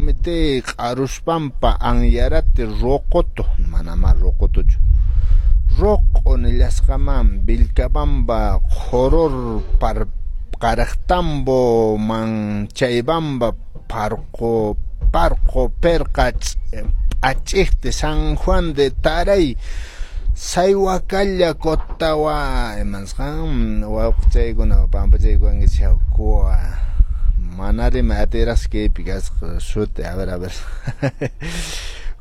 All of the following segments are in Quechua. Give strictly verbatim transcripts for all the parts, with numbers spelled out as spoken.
Comité Q'aruspampa Anyarati Roqoto, manama Roqotochu, Roqo nillasqaman Vilcabamba Joror par Qaraqtambo Manchaybamba Parqo Parqo Perqa P'ach'iqti San Juan de Taray Saywakalla Kotawa imansqan wawqichaykuna pampachaykuwankichik kuwa manarima atirasqa kaypi kasqa suti. A ver, a ver,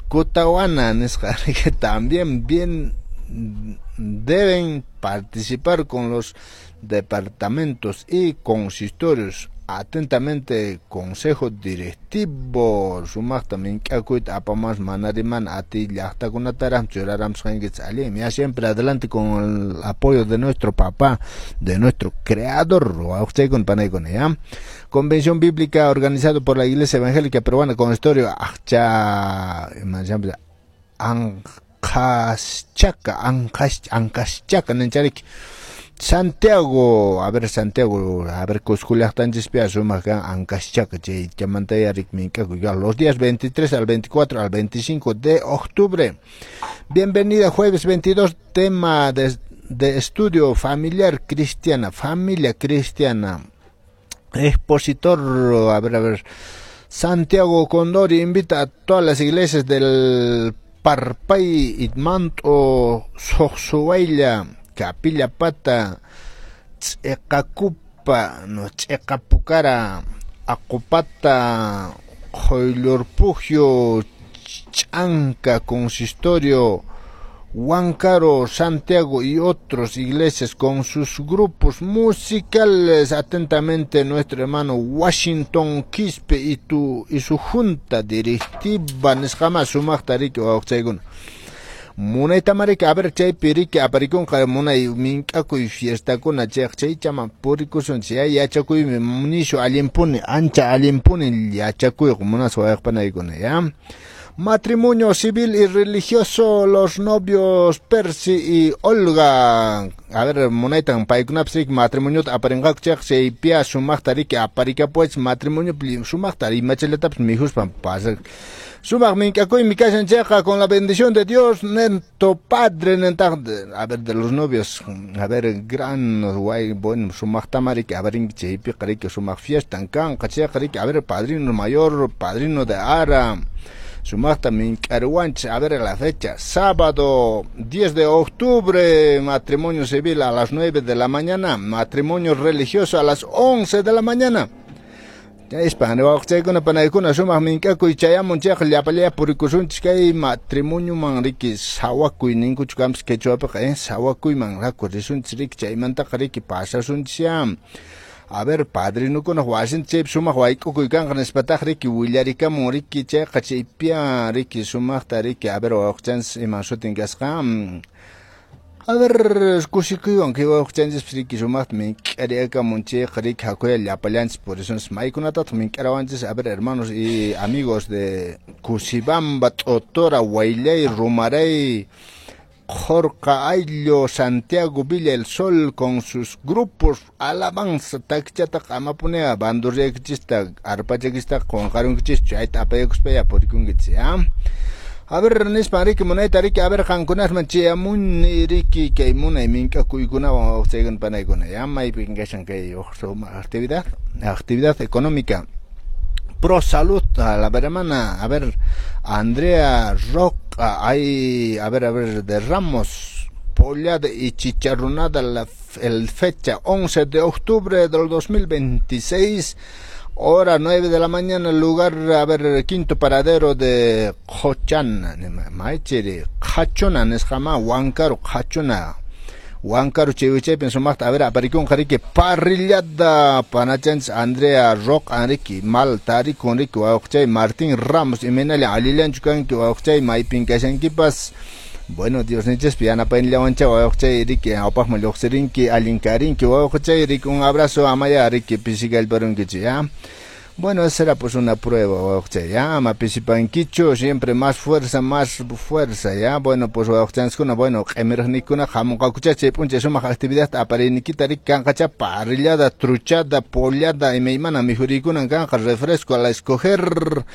Kutawana nisqa también bien deben participar con los departamentos y consistorios. Atentamente, Consejo Directivo. Sumaqta mink'akuyta apamas manariman ati llaqtakunataraq churaramsqankichik allinmi ya. Siempre adelante con el apoyo de nuestro papá, de nuestro creador, wawqichaykuna panaykuna ya. Convención Bíblica organizado por la Iglesia Evangélica Peruana con historia Aqcha Anqaschaka Anqash Anqaschaka ninchariki Santiago, a ver, Santiago, a ver, Cusco llaqtanchispi sumaq kan Anqaschaka chay chamanta riki mink'akuy los días veintitrés al veinticuatro al veinticinco de octubre. Bienvenida, jueves veintidós, tema de, de estudio familiar cristiana, familia cristiana. Expositor, a ver, a ver, Santiago Condori invita a todas las iglesias del Parpay, Itmanto, Soxuayla, Capilla Pata, Ch'eqakupa, no, Ch'eqapukara, Aqupata, Joylorpujio, Chanca, Consistorio, Huancaro, Santiago y otras iglesias con sus grupos musicales. Atentamente, nuestro hermano Washington Quispe y, tu, y su junta directiva. Nisqama sumaqta riki wawqichaykuna. Munaytama riki, a ver, chaypi riki aparikunqa munay mink'akuy fiestakuna chayqa chaychama purikusunchik ya yachakuymi nishu allinpuni ancha allinpuni yachakuyqa munasqa wawqipanaykuna ya. Matrimonio civil y religioso, los novios Percy y Olga. A ver, munaytan paykunapas riki matrimoniota aparinqaku chayqa chaypiya sumaqta riki aparikapuwachis matrimonio sumaqta imachallatapas mikhuspa pasaq. Sumaq mink'akuymi kashan chayqa con la bendición de Dios, nento padre nentaq, a ver, de los novios, a ver, gran guay, bueno, sumaqtama riki aparinki chaypiqa riki sumaq fiestan kanqa chayqa riki, a ver, padrino mayor, padrino de ara. Sumaqta mink'ariwanchik, a ver la fecha, sábado diez de octubre, matrimonio civil a las nueve de la mañana, matrimonio religioso a las once de la mañana. Chaypa wawqichaykuna panaykuna sumaq mink'akuy chayamun chayqa llapallaya purikusunchik kay matrimonioman riki sawakuy ninkuchu kanpas quechuapiqa eh sawakuyman raku risunchik riki chaymantaqa riki pasasunchik ya. A ver, padrinukunaq wasinta chaypi sumaq wayk'ukuy kanqa nispataq riki willarikamun riki chayqa chaypiya riki sumaqta riki, a ver, wawqichanchis iman sutin kasqa. A ver, kusikuywan kay wawqichanchis riki sumaqta mink'ariakamun chayqa riki hakuya llapallanchis purisunchis maykunatataq mink'arawanchis. A ver, hermanos y amigos de Cusibamba, T'otora, Waylay, Rumaray, Jorca Ayllo, Santiago Villa el Sol con sus grupos alabanza takichataqa amapunea bandurriaykichista arpachakista qunqarunkichis chayta apayakuspaya purikunkichis ya. A ver, nispan riki munayta riki, a ver, qankunasman chayamuni riki kay munay mink'akuykunawan wawqichaykuna panaykuna ya maypin kashan kay actividad actividad económica Pro Salud a la hermana, a ver, Andrea Roca, hay, a ver, a ver, de Ramos, pollada y chicharronada la el fecha once de octubre del dos mil veintiséis, hora nueve de la mañana, lugar, a ver, quinto paradero de Qochan, maychiri, Qachuna, nisqama, Huancaro, Qachuna. Huancaro chaywichaypin sumaqta, a ver, aparikunqa riki parrillada panachanchis Andrea Rock riki mal tarikun riki wawqichay Martín Ramos imaynalla allillanchu kanki wawqichay maypin kashankipas. Bueno, Diosninchikpi yanapayninllawancha wawqichay riki awpaqman lluqsirinki allin karinki wawqichay riki un abrazo amaya riki pisikallparunkichik ya. Bueno, esa será pues una prueba, wawqichay, ya, ama pisipankichu, siempre más fuerza, más fuerza, ya. Bueno, pues wawqichanchiskuna, bueno, q'imiraqniykuna hamunqakucha chay p'unchay sumaq actividad apariyniykita riki kanqacha parrillada, truchada, pollada, imaymana mikhuriykunan kanqa, refresco a la escoger.